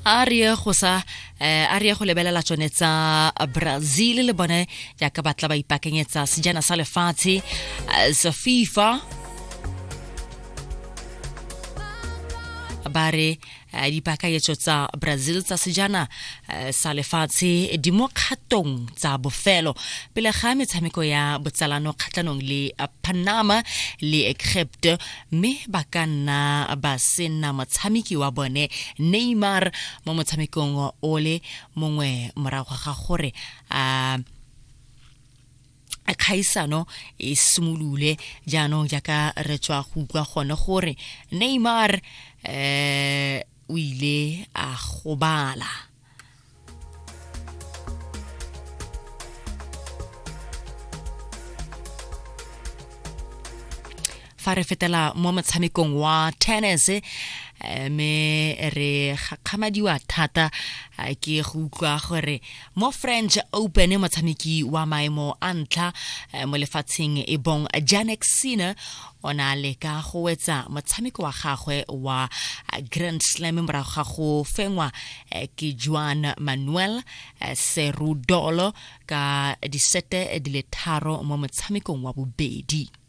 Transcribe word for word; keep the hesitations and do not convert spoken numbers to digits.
A re ye go sa eh, a re ye go lebelela tsone tsa Brazil le bone jaaka ba tla ba ipaakanyetsa sejana sa lefatshe eh, sa FIFA. Ba re eh, dipaakanyetso tsa Brazil tsa sejana eh, sa lefatshe di mo kgatong tsa bofelo pele ga metshameko ya botsalano kgatlhanong le eh, Panama le Egypt, mme ba ka nna ba sena motshameki wa bone Neymar mo motshamekong o le mongwe morago ga gore a kgaisano e simolole. Jaanong jaaka re tswa go utlwa gone gore Neymar eh o ile a gobala. Fa re fetela mo motshamekong wa tennis, eh, mme re gakgamadiwa thata eh, ke go utlwa gore mo French Open motshameki wa maemo a ntlha eh, mo lefatsheng e bong Jannik Sinner o ne a leka go wetsa motshameko wa gagwe wa eh, Grand Slam morago ga go fengwa eh, ke Juan Manuel eh, Cerundolo ka disete di le tharo mo motshamekong wa bobedi.